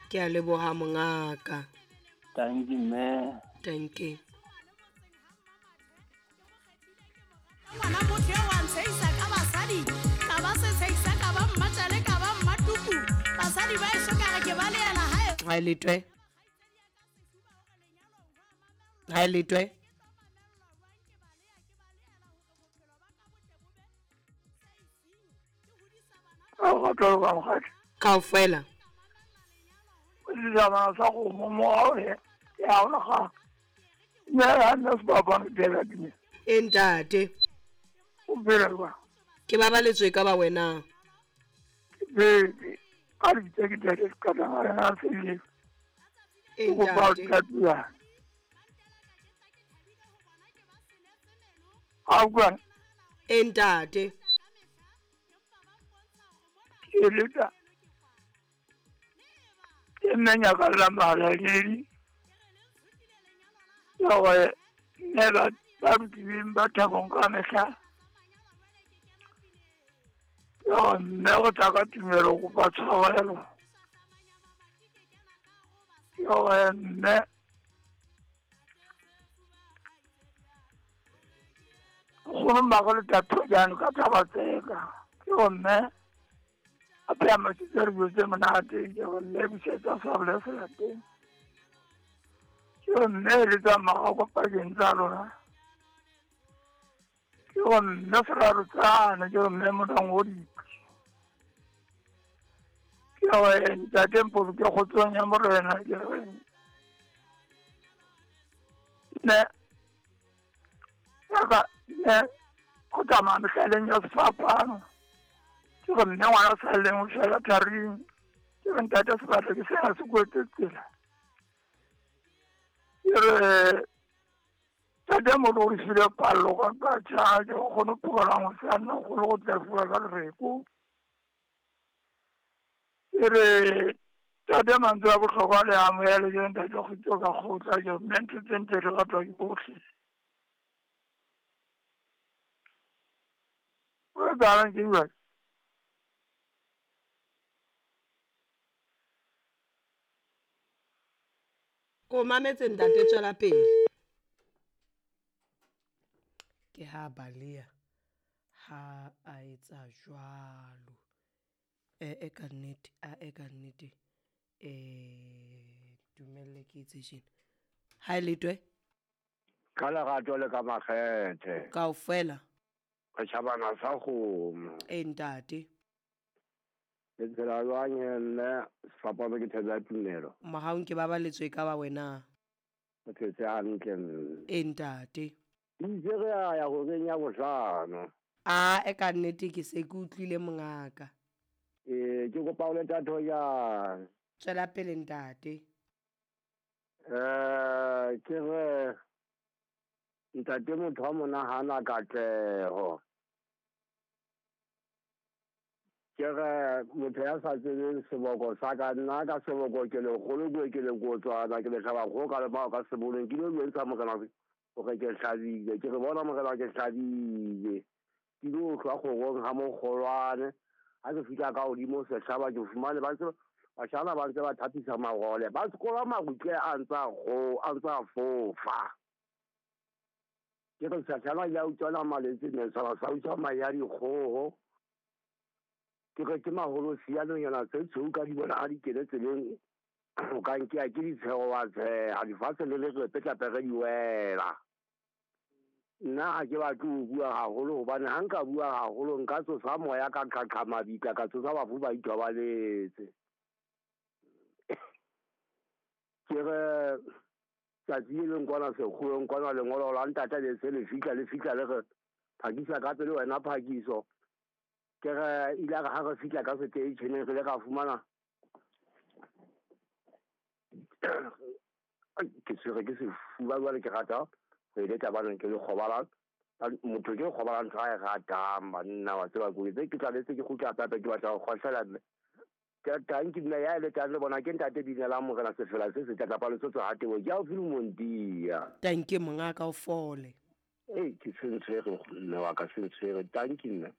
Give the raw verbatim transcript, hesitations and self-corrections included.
Ke a leboha mongaka. Thank you mme. Thank you. Ngwana motho eo wa ntshehisa ka basadi, ka ba setshehisa, ka ba mmatjale, ka ba mmatuku. Basadi ba eso ka re ke ba leela hae. Ha le twe. Ha le twe. Ka tlo ka mokgatlo. Kaofela. O dira sa go mo mo ya ona ga. Nna ha nna se ba ba dira dime. E ntate. O phela jwang? Ke babaletswe ka ba wena. Ke phetse. Ka lebitso ke ntate Seqatangana Sele. E Ke kopa ho ntate. tlatsuwa. Ha utlwa? E ntate. Ke letsa. Ke nna nyakalla mahalaledi. Ya hore mme ba ba rutileng ba thabong ka mehla. Ya hore mme o tla ka tumelo kopa tshwarelo. Ya hore mme nkgono mmago le Thatojaane ka thaba tseka. Ke hore mme a pheha masitse re dijo tse monate. Ke hore mme busetsa sabole selateng. Ke hore mme eletsa mmago pakeng tsa lona. Ke hore mme seraro tsane. Ke hore mme monang o diphi. Ke hore ntate Mpoloke kgotsong ya morena. Ke hore mme yaka mme go tsamaya mehlaleng ya sefapano. Ke hore mme ngwana a salleng o shwela tharing. Ke re ntate sebata ke sena se kwetse tsela. Ke re tate motho o re file pallo ka ka tjha ke kgone ho phumana ngwana o kgone go tla fuwa ka lereko. Ke re tate mantswe a bohlokwa le amohele ke ntate Kgutso ka kgotla ke mme ntho tse ntle di ratwa ke bohle. O etsahalang ke jwale? Ko mametse ntate tswela pele. Ke ha baleha ha a etsa jwalo. E e ka nnete, a e ka nnete. Eh dumelle ke etse tjena. Ha le twe. Ka lerato le ka makgethe. Kaofela. Re tjhabana sa kgomo. E ntate. Le phela jwang he mme sefapano ke thebe ya tumelo. Mohaung ke babaletswe ka ba wena. O phetse hantle mme. E ntate. Itse re a ya horeng ya bohlano. A e ka nnete ke se ke utlwile mongaka. Eh ke kopa o le Thatojaane. Tswela pele ntate. Eh ke re ntate motho wa monahana katleho. Ke re motho ya sa tsebeng seboko sa ka nna ka seboko ke lekgolo ke ke lekotswana ke lehlaba kgoho ka lemao ka sebolong ke lo jwentsha morena hore ke hlabile ke re bona morena ke hlabile ke lo hlwa kgorong ha mokgolwane ha ke fihla ka hodimo sehlaba ke fumane ba ntse bashana ba ntse ba thapisa marole ba sekola marutle a ntsa kgo a ntsa fofa ke re sehlaba ya utswana maletse ne sa sa utswa mahe a dikgoho. Ke re ke maholo sianonyana tse tshweu ka di bona ha di kene tseleng o ka nkea ke ditsheho wa tsheha lefatshe le le re pere di wela. Nna ha ke batle ho bua haholo hobane ha nka bua haholo nka tsosa moya ka qhaqha mabitla ka tsosa bafu ba ithobaletse. Ke re tsatsi le leng kwana sekgoweng kwana lengolo la ntate le se le fihla le fihla le re phakisa ka pele wena phakiso. Ke re ile re ha re fihla ka seteisheneng re ile ra fumana ke tshwere ke sefuba jwale ke rata ho e letla baneng ke lekgoba la motho ke lekgoba la ntho a e ratang banna wa tseba ke tse ke tlaletse ke kgutla hape ke batla ho kgohlela mme. Ke tanki nna ya letang le bona ke ntate Dinelang morena sefela se setle kapa Lesotho ha tebo ke haufi le Montia. Tanki mongaka o fole. Ee ke se ntshwere mme wa ka se ntshwere tanki nna.